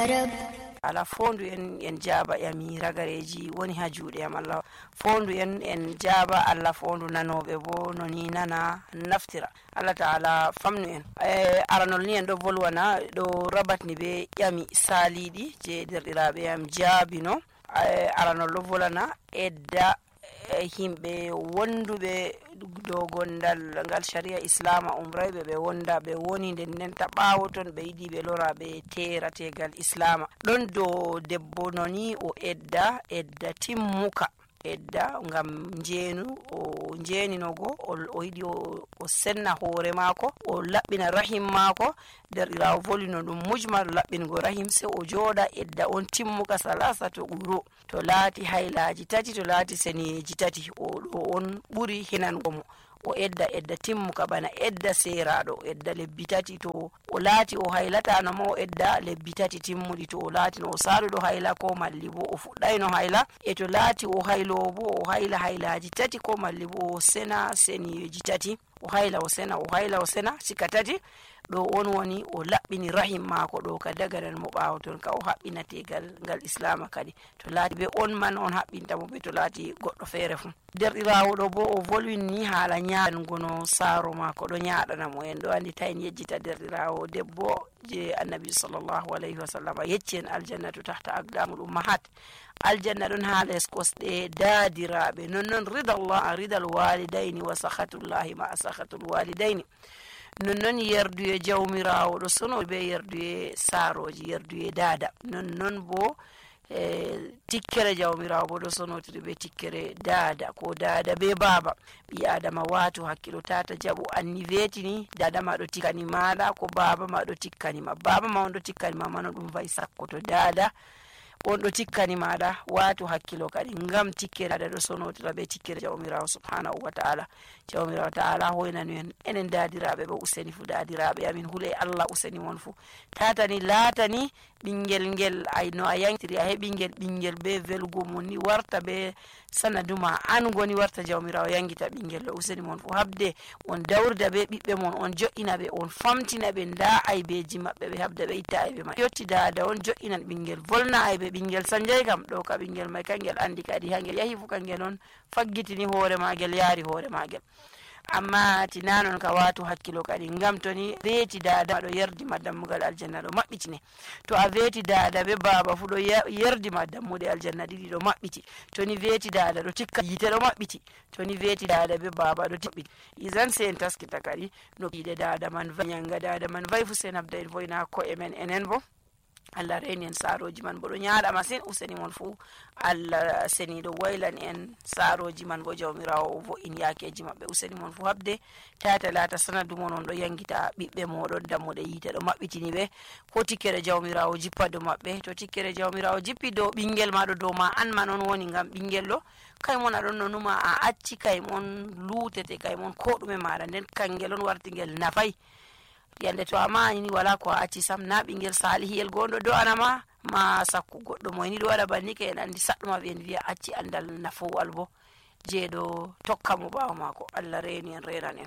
رب ala fondu en jaaba yami ragareji woni ha juuɗe am Allah fondu en jaaba Allah fondu nanoɓe bo no ni nana naftira Allah ta'ala famnu en aranol ni en ɗo volwana ɗo rabatni be yami saliɗi je derɗiraɓe yam jaabino aranol ɗo volana edda himɓe wonduɓe dow gondal ngal sharia islama umrayɓe ɓe wonda ɓe woni nden ta ɓawo ton ɓe yiɗi ɓe lora ɓe terategal islama ɗon dow debbo noni o edda timmuka edda ngam jeenu o jeeninogo o yiɗi o senna hoore maako o laɓɓina rahim maako derɗirawo volino ɗum mujmal laɓɓingo rahim se o jooɗa edda on timmuka salasa to ɓuro to laati haylaji tati to laati seneji tati o ɗo on ɓuri hinango mo o edda timmuka bana edda seraɗo edda lebbi tati to o laati o haylatano mo o edda lebbi tati timmudi to o laati no o saluɗo hayla ko malli bo o fuɗɗayno hayla e to laati o haylowo bo o hayla haylaji tati ko malli bo o sena seneji tati o hayla o sena sika tati ɗo on woni o laɓɓini rahim maako ɗo ka dagaran mo ɓaawo ton ka o haɓɓinategal ngal islama kadi to laati be on man on haɓɓinta mo be to laati goɗɗo feere fu derɗirawo ɗo bo o volwinni haala ñaaɗango no saaro maako ɗo ñaaɗana mo en ɗo andi ta en yejjita derɗirawo debbo je annabi sallllahu alayhi wa sallam yecci en aljannatu tahta aqdamul ummahat aljanna ɗon ha les kosɗe daadiraɓe nonnon ridal walidayni wa sahatullahi ma sahatul walidayni nonnon yerduye jawmirawo ɗo sono be yerduye saaroji yerduye daada nonnon bo tikkere jawmirawo bo ɗo sonotiri be tikkere daada ko daada be baaba ɓi adama watu hakkilo tata jaɓu anni wetini dada ma ɗo tikkani maɗa ko baba ma ɗo tikkanima baba ma on ɗo tikkanima mano ɗum wayi sakko to daada on ɗo tikkani maɗa watu hakkilo kadi ngam tikkere dada ɗo sonotira be tikkere jawmirawo subhanahu wa ta'ala jawmirawo ta'ala hoynanu en enen dadiraɓe ɓe useni fu dadiraɓe amin huule Allah useni mon fu tatani laatani ɓingel ngel no a yangtiri a heɓi ɓingel be velugo mon ni warta be sanaduma an goni warta jawmirawo yangita ɓingel ɗo useni mon fu habde on dawrida be ɓiɓɓe mon on jo'ina ɓe on famtina ɓe nda aybeji maɓɓe ɓe habda ɓe itta aybe ma yotti dada on jo'inan ɓingel volna aybe ɓingel sanjay kam ɗo ka ɓingel mai kangel andi kadi hangel yahi fu kangel on faggitini hoore magel yaari hoore magel amma tinanon ka watu hakkilo kadi ngam toni weeti dada ɗo yerdima dammugal aljanna ɗo maɓɓitine to a weeti dada be baba fu ɗo yerdima dammuɗe aljanna ɗiɗi ɗo maɓɓiti toni weeti dada ɗo tikka yite ɗo maɓɓiti toni weeti dada be baba ɗo tiɓɓiti isan sen taskita kadi no piɗe dada man nyanga dada man vayi fu sen habda en voyna ko'e men enen bo Allah reni en saaroji man bo ɗo ñaaɗa masin useni mon fu Allah seniɗo waylan en saaroji man bo jawmirawo o vo'in yakeji maɓɓe useni mon fu habde tata laata sanadu mon on ɗo yangita ɓiɓɓe moɗon dammuɗe yiite ɗo maɓɓitini ɓe ko tikkere jawmirawo jippa dow maɓɓe to tikkere jawmirawo jippi dow ɓingel maɗo dow ma an man on woni ngam ɓingel ɗo kaymon aɗon no numa a acci kaymon lutete kaymon ko ɗume maɗa nden kangel on wartigel nafay yande to amani ni wala ko a acci sam na ɓingel salihiyel gonɗo do anama ma sakku goɗɗo moyni ɗo waɗa banni ka en andi saɗɗuma ɓe en wiya acci andal nafowal bo jeeɗo tokka mo ɓawo mako Allah reni en renan en